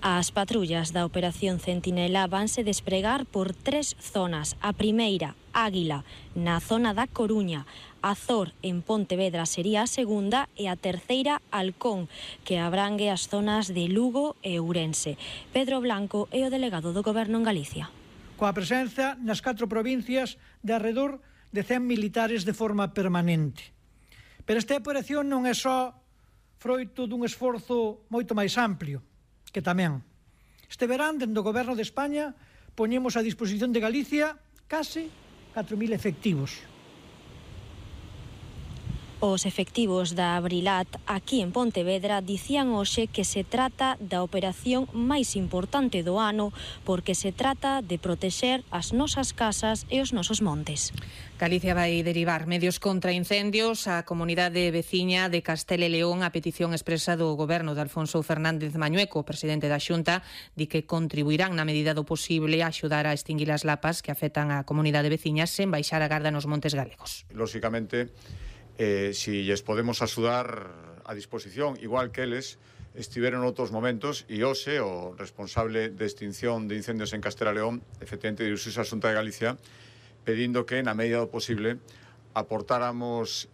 As patrullas da Operación Centinela vanse despregar por 3 zonas. A primeira, Águila, na zona da Coruña. Azor, en Pontevedra, sería a segunda, e a terceira, Halcón, que abrangue as zonas de Lugo e Ourense. Pedro Blanco é o delegado do Goberno en Galicia. Coa presenza nas 4 provincias de arredor de 100 militares de forma permanente. Pero esta operación non é só froito dun esforzo moito máis amplio, que tamén. Este verán, dende o Goberno de España, poñemos a disposición de Galicia case 4.000 efectivos. Os efectivos da Abrilat aquí en Pontevedra dicían hoxe que se trata da operación máis importante do ano porque se trata de protexer as nosas casas e os nosos montes. Galicia vai derivar medios contra incendios á comunidade veciña de Castela e León a petición expresa do Goberno de Alfonso Fernández Mañueco, presidente da Xunta, di que contribuirán na medida do posible a axudar a extinguir as lapas que afectan a comunidade veciña sen baixar a garda nos montes galegos. Lóxicamente, si lles podemos axudar a disposición, igual que eles estiveron outros momentos, e hoxe o responsable de extinción de incendios en Castela e León, efectivamente, dirixiuse á Xunta de Galicia pedindo que, na medida do posible, aportáramos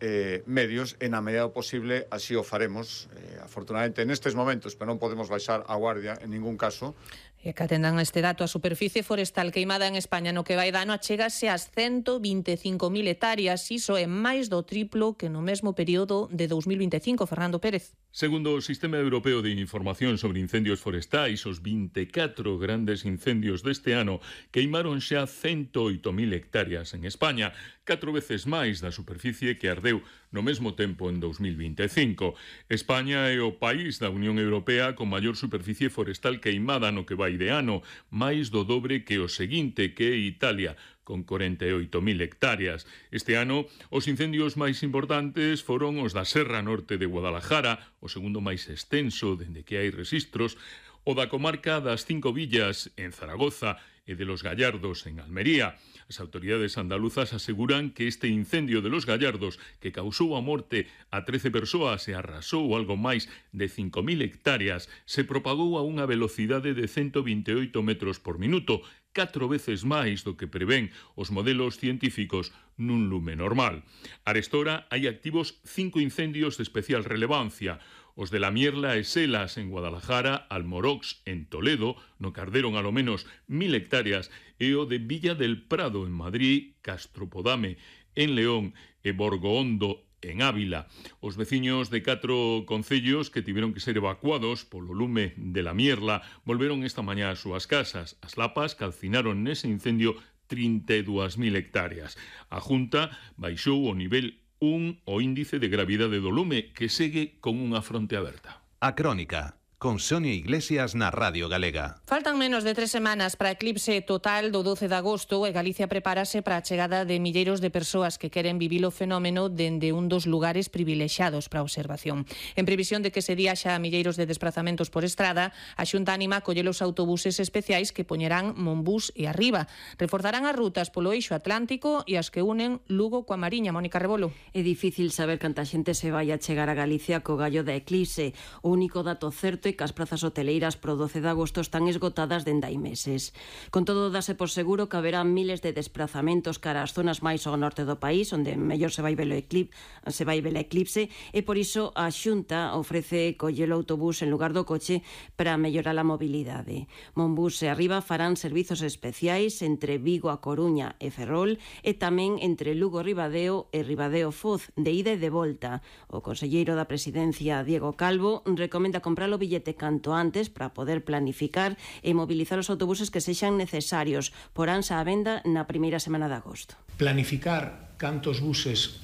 medios e, na medida do posible, así o faremos. Afortunadamente, nestes momentos, pero non podemos baixar a guardia en ningún caso. E que atendan este dato, a superficie forestal queimada en España no que vai de ano achégase ás 125.000 hectáreas, iso é máis do triplo que no mesmo período de 2025. Fernando Pérez. Segundo o Sistema Europeo de Información sobre Incendios Forestais, os 24 grandes incendios deste ano queimaron xa 108.000 hectáreas en España, 4 veces máis da superficie que ardeu no mesmo tempo en 2025. España é o país da Unión Europea con maior superficie forestal queimada no que vai de ano, máis do dobre que o seguinte, que é Italia, con 48.000 hectáreas. Este ano, os incendios máis importantes foron os da Serra Norte de Guadalajara, o segundo máis extenso dende que hai rexistros, o da comarca das Cinco Villas, en Zaragoza, e de Los Gallardos, en Almería. As autoridades andaluzas aseguran que este incendio de Los Gallardos, que causou a morte a 13 persoas e arrasou algo máis de 5.000 hectáreas, se propagou a unha velocidade de 128 metros por minuto, 4 veces máis do que prevén os modelos científicos nun lume normal. Arestora hai activos 5 incendios de especial relevancia: os de La Mierla e Selas en Guadalajara, Almorox en Toledo, no que arderon alo menos 1.000 hectáreas, e o de Villa del Prado en Madrid, Castropodame en León e Borgohondo en Ávila. Os veciños de 4 concellos que tiveron que ser evacuados polo lume de La Mierla volveron esta mañá ás súas casas. As lapas calcinaron nese incendio 32.000 hectáreas. A Junta baixou o nivel 1 o índice de gravidade do lume, que segue con unha fronte aberta. A Crónica, con Sonia Iglesias na Radio Galega. Faltan menos de 3 semanas para eclipse total do 12 de agosto e Galicia prepárase para a chegada de milleiros de persoas que queren vivir o fenómeno dende un dos lugares privilexiados para a observación. En previsión de que se día xa milleiros de desplazamentos por estrada, a Xunta anima a coller os autobuses especiais que poñerán Monbús e Arriba. Reforzarán as rutas polo eixo atlántico e as que unen Lugo coa Mariña. Mónica Rebolo. É difícil saber canta xente se vai a chegar a Galicia co gallo da eclipse. O único dato certo que as prazas hoteleiras pro 12 de agosto están esgotadas dende hai meses. Con todo, dase por seguro que haberá miles de desplazamentos cara ás zonas máis ao norte do país, onde mellor se vai ver a eclipse, e por iso a Xunta ofrece coller o autobús en lugar do coche para mellorar a mobilidade. Monbús e Arriba farán servizos especiais entre Vigo a Coruña e Ferrol, e tamén entre Lugo Ribadeo e Ribadeo Foz, de ida e de volta. O conselleiro da Presidencia, Diego Calvo, recomenda comprar o billete canto antes para poder planificar e mobilizar os autobuses que sexan necesarios. Poránse á venda na primeira semana de agosto. Planificar cantos buses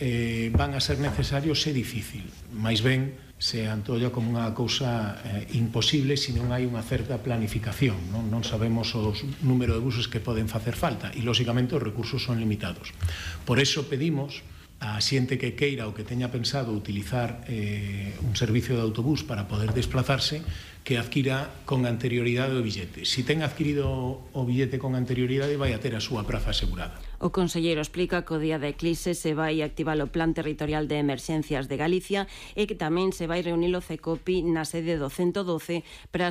van a ser necesarios é difícil, máis ben se antolla como unha cousa imposible se non hai unha certa planificación. Non sabemos o número de buses que poden facer falta e, lóxicamente, os recursos son limitados. Por eso pedimos a xente que queira ou que teña pensado utilizar un servicio de autobús para poder desplazarse, que adquira con anterioridade o billete. Si ten adquirido o billete con anterioridade, vai a ter a súa praza asegurada. O conselleiro explica que o día da eclipse se vai activar o Plan Territorial de Emerxencias de Galicia e que tamén se vai reunir o CECOPI na sede do 112 para